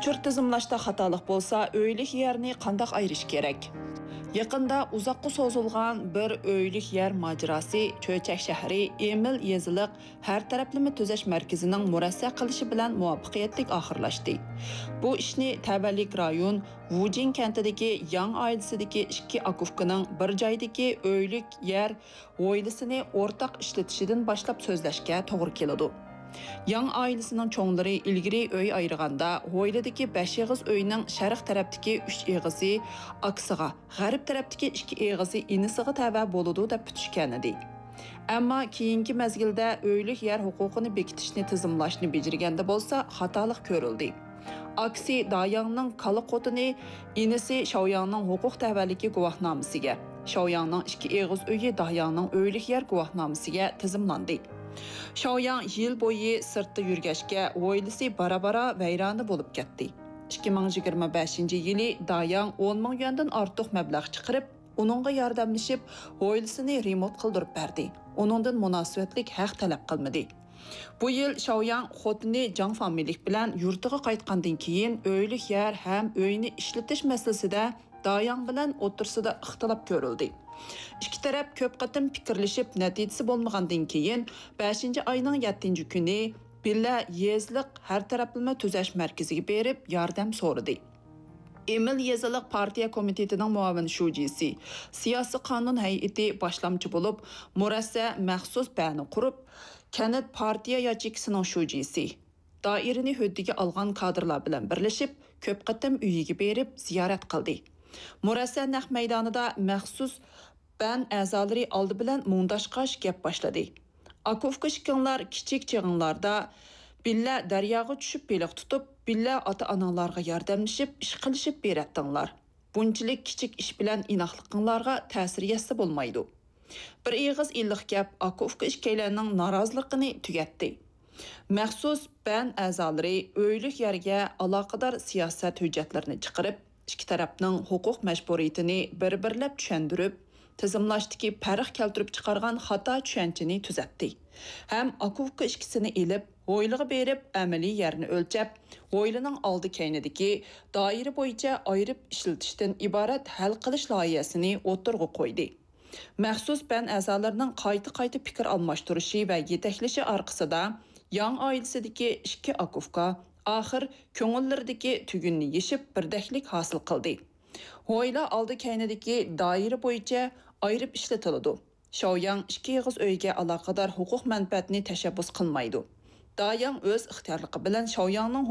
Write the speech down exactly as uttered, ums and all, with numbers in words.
تۈر تىزىملاشتا خاتالىق بولسا، ئۆيلۈك يەرنى قانداق ئايرىش كېرەك؟ يېقىندا ئۇزاققا سوزۇلغان بىر ئۆيلۈك يەر ماجىراسى چۆچەك شەھىرى ئېمىل يېزىلىق ھەر تەرەپلىمە تۈزەش مەركىزىنىڭ مۇرەسسە قىلىشى بىلەن مۇۋەپپەقىيەتلىك ئاخىرلاشتى. بۇ ئىشنى تەۋەلىك رايون ۋۇجىن كەنتىدىكى ياڭ ئائىلىسىدىكى ئىككى ئاكا-ئۇكىنىڭ بىر جايدىكى ئۆيلۈك يەر ھويلىسىنى ئورتاق ئىشلىتىشىدىن باشلاپ سۆزلەشكە توغرا كېلىدۇ. ياڭ ئائىلىسىنىڭ چوڭلىرى ئىلگىرى ئۆي ئايرىغاندا، ھويلىدىكى بەش ئېغىز ئۆينىڭ شەرق تەرەپتىكى ئۈچ ئېغىزى ئاكىسىغا، غەرب تەرەپتىكى ئىككى ئېغىزى ئىنىسىغا تەۋە بولىدۇ دەپ پۈتۈشكەنىدى. ئەمما كېيىنكى مەزگىلدە ئۆيلۈك يەر ھوقۇقىنى بېكىتىشنى تىزىملاشنى بېجىرگەندە بولسا خاتالىق كۆرۈلدى. ئاكىسى داياڭنىڭ كالا خوتۇنى ئىنىسى شاۋياڭنىڭ ھوقۇق تەۋەلىكى گۇۋاھنامىسىگە، شاۋياڭنىڭ ئىككى ئېغىز ئۆيى داياڭنىڭ ئۆيلۈك يەر گۇۋاھنامىسىگە تىزىملاندى. شاۋياڭ يىل بويى سىرتتا يۈرگەچكە، ھويلىسى بارا-بارا ۋەيرانە بولۇپ كەتتى. ئىككى مىڭ يىگىرمە بەشىنچى يىلى داياڭ ئون مىڭ يۈەندىن ئارتۇق مەبلەغ چىقىرىپ، ئۇنىڭغا ياردەملىشىپ، ھويلىسىنى رېمونت قىلدۇرۇپ بەردى. ئۇنىڭدىن مۇناسىۋەتلىك ھەق تەلەپ قىلمىدى. بۇ يىل شاۋياڭ خوتۇنى جاڭ فامىلىلىك بىلەن يۇرتىغا قايتقاندىن كېيىن، ئۆيلۈك يەر ھەم ئۆينى ئىشلىتىش مەسىلىسىدە داياڭ بىلەن ئوتتۇرىسىدا ئىختىلاپ كۆرۈلدى. ئىككى تەرەپ كۆپ قېتىم پىكىرلىشىپ، نەتىجىسى بولمىغاندىن كېيىن، بەشىنچى ئاينىڭ يەتتىنچى كۈنى بىللە يېزىلىق ھەر تەرەپلىمە تۈزەش مەركىزىگە بېرىپ ياردەم سورىدى. ئېمىل يېزىلىق پارتىيە كومىتېتىنىڭ مۇئاۋىن شۇجىسى، سىياسىي قانۇن ھەيئىتى باشلامچى بولۇپ، مۇرەسسە مەخسۇس بەنى قۇرۇپ، كەنت پارتىيە ياچېيكىسىنىڭ شۇجىسى، دائىرىنى ھۆددىگە ئالغان كادىرلار بىلەن بىرلىشىپ، كۆپ قېتىم ئۆيىگە بېرىپ زىيارەت قىلدى. مۇرەسسە نەق مەيدانىدا مەخسۇس بەن ئەزالىرى ئالدى بىلەن مۇڭداشقاچ گەپ باشلىدى. ئاكا-ئۇكا ئىككىڭلار كىچىك چېغىڭلاردا بىللە دەرياغا چۈشۈپ بېلىق تۇتۇپ، بىللە ئاتا-ئاناڭلارغا ياردەملىشىپ، ئىش قىلىشىپ بېرەتتىڭلار. بۇنچىلىك كىچىك ئىش بىلەن ئىناقلىقىڭلارغا تەسىر يەتسە بولمايدۇ. بىر ئېغىز ئىللىق گەپ ئاكا-ئۇكا ئىككىيلەننىڭ نارازىلىقىنى تۈگەتتى. مەخسۇس بەن ئەزالىرى ئۆيلۈك يەرگە ئالاقىدار سىياسەت ھۆججەتلىرىنى چىقىرىپ، ئىككى تەرەپنىڭ ھوقۇق مەجبۇرىيىتىنى بىر-بىرلەپ چۈشەندۈرۈپ، تىزىملاشتىكى پەرق كەلتۈرۈپ چىقارغان خاتا چۈشەنچىنى تۈزەتتى ھەم ئاكا-ئۇكا ئىككىسىنى ئېلىپ، ھويلىغا بېرىپ، ئەمەلىي يەرنى ئۆلچەپ، ھويلىنىڭ ئالدى-كەينىدىكى دائىرە بويىچە ئايرىپ ئىشلىتىشتىن ئىبارەت ھەل قىلىش لايىھەسىنى ئوتتۇرىغا قويدى. مەخسۇس بەن ئەزالىرىنىڭ قايتا-قايتا پىكىر ئالماشتۇرۇشى ۋە يېتەكلىشى ئارقىسىدا، ياڭ ئائىلىسىدىكى ئىككى ئاكا-ئۇكا ئاخىر كۆڭۈللىرىدىكى تۈگۈننى يېشىپ، بىردەكلىك ھاسىل قىلدى. ھويلا ئالدى-كەينىدىكى دائىرە بويىچە ئايرىپ ئىشلىتىلىدۇ. شاۋياڭ ئىككى ئېغىز ئۆيگە ئالاقىدار ھوقۇق مەنپەئەتنى تەشەببۇس قىلمايدۇ. داياڭ ئۆز ئىختىيارلىقى بىلەن شاۋياڭنىڭ